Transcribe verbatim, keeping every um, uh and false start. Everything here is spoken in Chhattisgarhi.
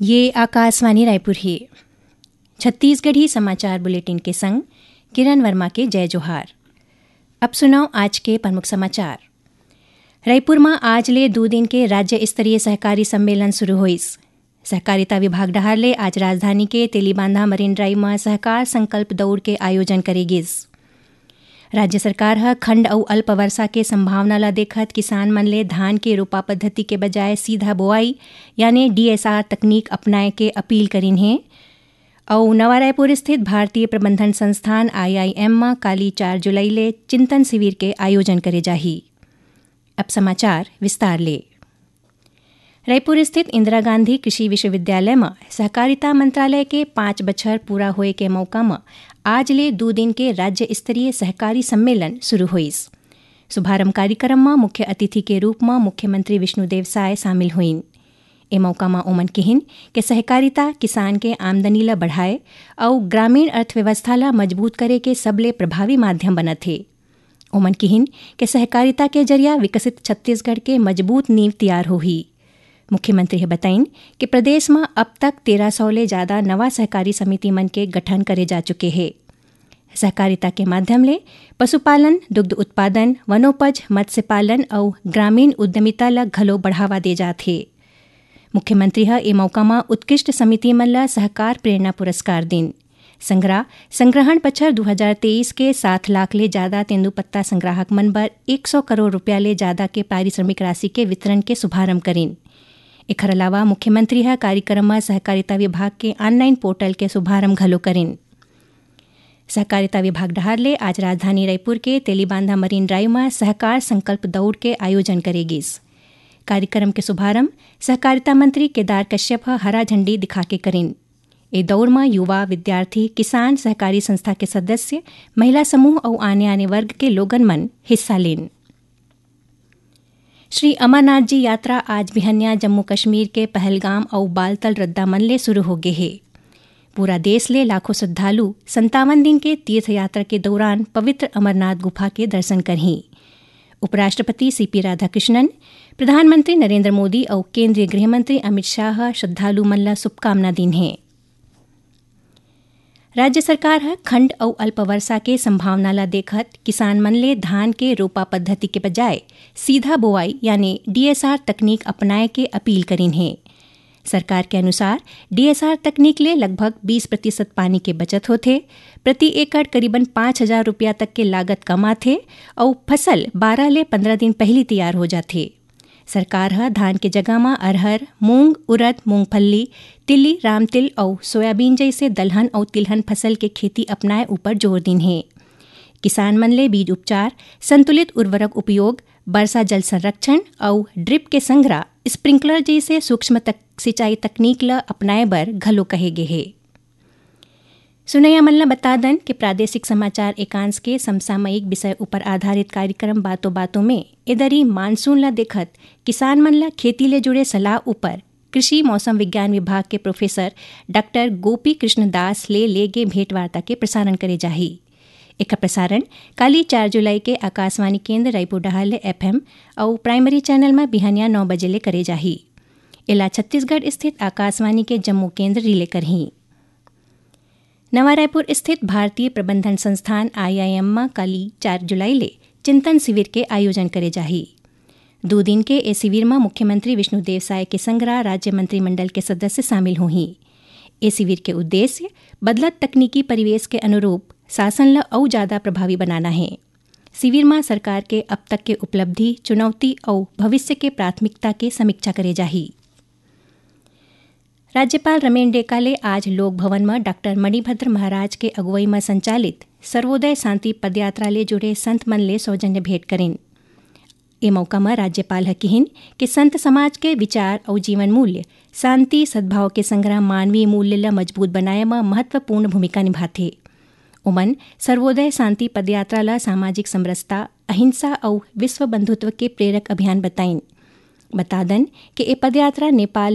ये आकाशवाणी रायपुर हे। छत्तीसगढ़ी समाचार बुलेटिन के संग किरण वर्मा के जय जोहार। अब सुनव आज के प्रमुख समाचार। रायपुर म आज ले दू दिन के राज्य स्तरीय सहकारी सम्मेलन शुरू होइस। सहकारिता विभाग डहार ले आज राजधानी के तेलीबांधा मरीन ड्राइव म सहकार संकल्प दौड़ के आयोजन करे गिस। राज्य सरकार ह खंड अउ अल्प वर्षा के संभावना ल देखत किसान मन ले धान के रोपा पद्धति के बजाय सीधा बोआई यानी डीएसआर तकनीक अपनाए के अपील करिन हे। अउ नवा रायपुर स्थित भारतीय प्रबंधन संस्थान आईआईएम म काली चार जुलाई ले चिंतन शिविर के आयोजन करे जाही। अब समाचार विस्तार ले। रायपुर स्थित इंदिरा गांधी कृषि विश्वविद्यालय म सहकारिता मंत्रालय के पाँच बछर पूरा होए के मौका म आज ले दू दिन के राज्य स्तरीय सहकारी सम्मेलन शुरू होइस। शुभारंभ कार्यक्रम म मुख्य अतिथि के रूप म मुख्यमंत्री विष्णुदेव साय शामिल होइन। ए मौका म ओमन किहिन के सहकारिता किसान के आमदनी ल बढ़ाए अउ ग्रामीण अर्थव्यवस्था ल मजबूत करे के सबले प्रभावी माध्यम बनत हे। ओमन किहिन के सहकारिता के जरिया विकसित छत्तीसगढ़ के मजबूत नींव तियार होही। मुख्यमंत्री ह बताइन कि प्रदेश म अब तक तेरह सौ ले जादा नवा सहकारी समिति मन के गठन करे जा चुके हे। सहकारिता के माध्यम ले पशुपालन, दुग्ध उत्पादन, वनोपज, मत्स्य पालन अउ ग्रामीण उद्यमिता ल घलो बढ़ावा दे जात हे। मुख्यमंत्री ह ए मौका म उत्कृष्ट समिति मन ल सहकार प्रेरणा पुरस्कार दिन। संग्रह, संग्रहण बछर दू हजार तेईस के सात लाख ले जादा तेंदूपत्ता संग्राहक मन बर एक सौ करोड़ रुपया ले जादा के पारिश्रमिक राशि के वितरण के शुभारंभ करिन। एखर अलावा मुख्यमंत्री ह कार्यक्रम म सहकारिता विभाग के ऑनलाइन पोर्टल के शुभारंभ घलो करिन। सहकारिता विभाग डहार ले आज राजधानी रायपुर के तेलीबांधा मरीन ड्राइव म सहकार संकल्प दौड़ के आयोजन करे गिस। कार्यक्रम के शुभारंभ सहकारिता मंत्री केदार कश्यप ह हरा झंडी दिखाके करिन। ए दौड़ म युवा, विद्यार्थी, किसान, सहकारी संस्था के सदस्य, महिला समूह अउ आने-आने वर्ग के लोगन मन हिस्सा लेन। श्री अमरनाथ जी यात्रा आज बिहनिया जम्मू कश्मीर के पहलगाम अउ बालतल रद्दा मन ले शुरू हो गे हे। पूरा देश ले लाखों श्रद्धालु संतावन दिन के तीर्थ यात्रा के दौरान पवित्र अमरनाथ गुफा के दर्शन करहीं। उपराष्ट्रपति सीपी राधाकृष्णन, प्रधानमंत्री नरेंद्र मोदी अउ केंद्रीय गृह मंत्री अमित शाह ह श्रद्धालु मन ल शुभकामना दीन हे। राज्य सरकार ह खंड अउ अल्प वर्षा के संभावना ल देखत किसान मन ले धान के रोपा पद्धति के बजाय सीधा बोआई यानी डीएसआर तकनीक अपनाए के अपील करिन हे। सरकार के अनुसार डीएसआर तकनीक ले लगभग बीस प्रतिशत पानी के बचत होथे, प्रति एकड़ करीबन पाँच हजार रुपया तक के लागत कम आथे अउ फसल बारह ले पंद्रह दिन पहिली तियार हो जाथे। सरकार ह धान के जगह म अरहर, मूंग, उरद, मूंगफली, तिली, रामतिल अउ सोयाबीन जइसे दलहन अउ तिलहन फसल के खेती अपनाए ऊपर जोर दीन हे। किसान मन ले बीज उपचार, संतुलित उर्वरक उपयोग, वर्षा जल संरक्षण अउ ड्रिप के संघरा स्प्रिंकलर जइसे सूक्ष्म तक सिंचाई तकनीक ल अपनाए बर घलो कहे गे हे। सुनैया मन ल बता दन कि प्रादेशिक समाचार एकांश के समसामयिक विषय ऊपर आधारित कार्यक्रम बातों बातों में एदरी मानसून ल देखत किसान मन ल खेती ले जुड़े सलाह ऊपर कृषि मौसम विज्ञान विभाग के प्रोफेसर डॉक्टर गोपी कृष्ण दास ले ले गे भेंटवार्ता के प्रसारण करे जाही। एकर प्रसारण काली चार जुलाई के आकाशवाणी केंद्र रायपुर डहार ले एफएम अउ प्राइमरी चैनल म बिहनिया नौ बजे ले करे जाही। एला छत्तीसगढ़ स्थित आकाशवाणी के जम्मू केंद्र रिले करही। नवा रायपुर स्थित भारतीय प्रबंधन संस्थान आईआईएम म काली चार जुलाई ले चिंतन शिविर के आयोजन करे जाही। दू दिन के ए शिविर म मुख्यमंत्री विष्णुदेव साय के संघरा राज्य मंत्रिमंडल के सदस्य शामिल होही। ए शिविर के उद्देश्य बदलत तकनीकी परिवेश के अनुरूप शासन ल अउ जादा प्रभावी बनाना हे। शिविर म सरकार के अब तक के उपलब्धि, चुनौती अउ भविष्य के प्राथमिकता के समीक्षा करे जाही। राज्यपाल रमेन डेका ले आज लोक भवन म डॉक्टर मणिभद्र महाराज के अगुवई म संचालित सर्वोदय शांति पदयात्रा ले जुड़े संत मन ले सौजन्य भेंट करिन। ए मौका म राज्यपाल ह किहिन कि संत समाज के विचार अउ जीवन मूल्य, शांति, सद्भाव के संघरा मानवीय मूल्य ल मजबूत बनाए म महत्वपूर्ण भूमिका निभाथे। ओमन सर्वोदय शांति पदयात्रा ल सामाजिक समरसता, अहिंसा अउ विश्व बंधुत्व के प्रेरक अभियान बताइन। बता दन कि ए पदयात्रा नेपाल